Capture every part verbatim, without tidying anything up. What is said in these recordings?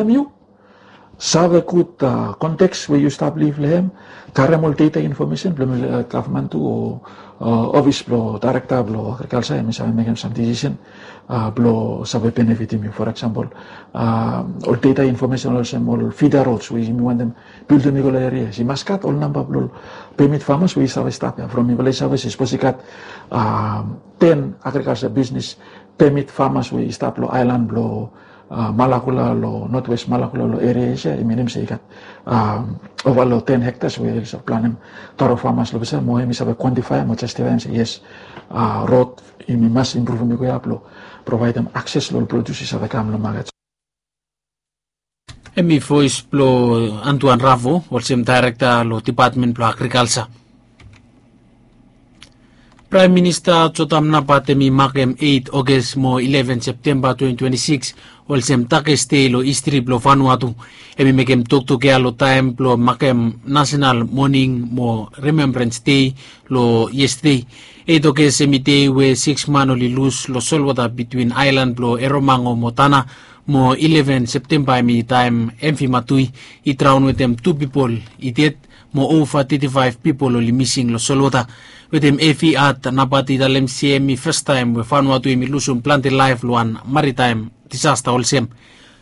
yu save gud konteks we yu stap liv long hem, karem ol data infomesen blong gavman tu o ofis blong daerekta blong agrikalsa, em i save mekem sam disisen blong save benefitim yu. For eksempel, ol data infomesen olsem ol fida rods we yumi wantem bildim i go long erias, i mas gat ol namba blong pemit famas we i save stap ya. From mifala i save se sapos i gat ten agrikalsa bisnis pemit famas we i stap long aelan blong Malakula long notwest Malakula long eria ya, i minim se i gat ova long ten hektas we oli save planem taro famas long pesa, mo em i save kwantifaem o jastifaem se yes, rod yumi mas impruvim i go ya blong provaedem akses long ol produs i save kam long maket. Em i voes blong Antuan Ravo olsem daerekta long depatmen blong agrikalsa. Praem Minista Jotam Napat em i makem eit Oges mo ileven Septemba twenti twenti sikis olsem takes dei long histri blong Vanuatu. Em i mekem toktok ya long taem blong makem nasenal moning mo rimembrans dei long yestade. Eit Oges em i dei we sikis man oli lus long solwota bitwin aelan blong Eromango mo Tana, mo ileven Septemba em i taem em vi matui i draon wetem tu pipol i ded mo ova teti faef pipol oli mising long solwota. Wetem evi at Napat i talem se em i fastaem we Vanuatu em i lusum plante laef long wan maritaem disasta olsem.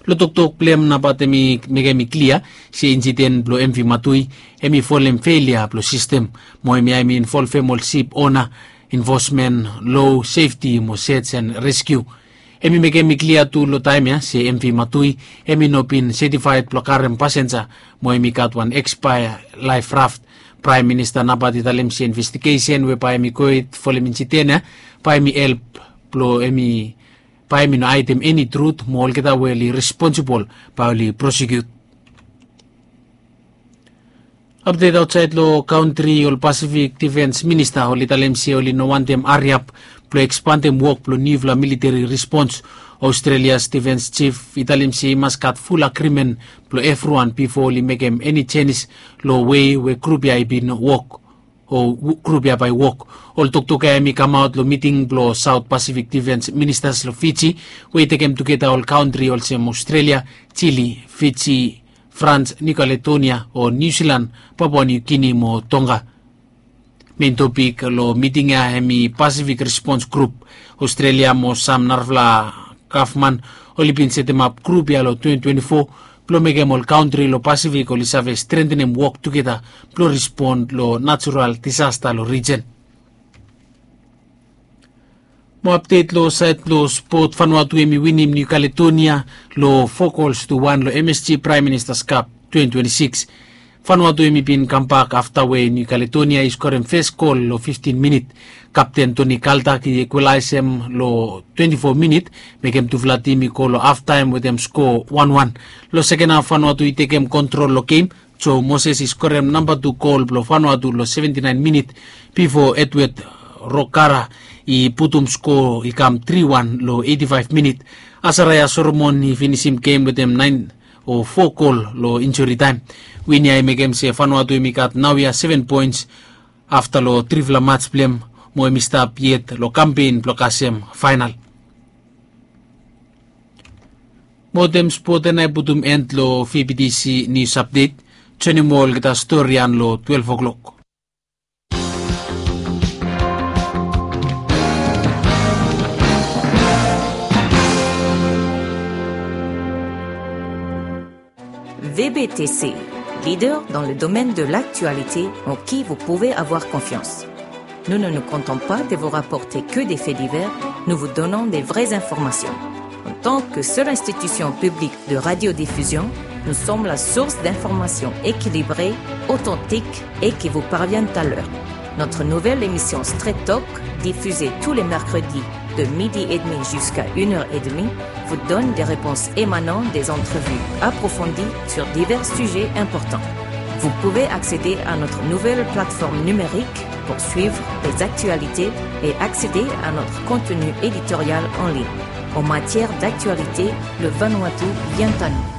Long toktok blong em Napat em i mekem i klia se insiden blong em vi matui em i folem felia blong sistem, mo em ya em i involvem ol sip ona, infosmen, lo, sefti mo sej en reskiu. Em i mekem i klia tu long taem ya se em vi matui em i no bin setifaed blong karem pasenja, mo em i gat wan ekspaea laef raft. Praem Minista Napat i talem se investigesen we bae em i gohed folem insiden ya bae em i help blong em i bae em i no haedem eni trut, mo olgeta we oli responsibol bae oli prosekiut. Apdet aotsaed long kantri, ol Pasifik Difens Minista oli talem se oli no wantem hariap blong ekspandem wok blong niufala militeri rispons. Australias difens jif i talem se i mas gat ful agrimen blong evriwan bifo oli mekem eni jenis long wei we grup ya i bin wok o grup ya bae i wok. Ol toktok ya em i kamaot long miting blong Saot Pasifik Difens Ministas long Fiji, we i tekem tugeta ol kantri olsem Australia, Jili, Fiji, Frans, Niu Kaledonia o Niu Silan, Papua Niu Gini mo Tonga. Mein topik long miting ya em i Pasifik Rispons Grup. Australia mo sam narafala gavman oli bin setemap grup ya long twenti twenti fo blong mekem ol kantri long Pasifik oli save strentenem wok tugeta blong rispon long natural disasta long rijen. Mo apdet long saed blong spot, Vanuatu em i winim Niu Kaledonia long fo gols tu wan long M S G Praem Ministas Kap twenti twenti sikis. Vanuatu em i bin kambak afta we Niu Kaledonia i skorem fes gol long fiftin minit. Kapten Toni Kaltak i ekwalaesem long twenti fo minit, mekem tufala tim i go long haftaem wetem sko wan wan. Long seken haf Vanuatu i tekem kontrol long gem, Joe Moses i skorem namba tu gol blong Vanuatu long seventi naen minit, bifo Edward Rokara i putum sko i kam tri wan long eiti faef minit. Asaraya Solomon i finisim gem wetem naen o fo gol long injuri taem. Win ya i mekem se Vanuatu em i gat naoia seven poens afta long trifala mats blong hem, mo hem i stap yet long kampen blong kasem faenal. Mo wetem spot ya nao i putum en long V B T C Nius Apdet. Joenem olgeta stori ya long twelef o'klok. V B T C, leader dans le domaine de l'actualité en qui vous pouvez avoir confiance. Nous ne nous contentons pas de vous rapporter que des faits divers, nous vous donnons des vraies informations. En tant que seule institution publique de radiodiffusion, nous sommes la source d'informations équilibrées, authentiques et qui vous parviennent à l'heure. Notre nouvelle émission Straight Talk, diffusée tous les mercredis de midi et demi jusqu'à une heure et demie, vous donne des réponses émanant des entrevues approfondies sur divers sujets importants. Vous pouvez accéder à notre nouvelle plateforme numérique pour suivre les actualités et accéder à notre contenu éditorial en ligne. En matière d'actualité, le Vanuatu vient à nous.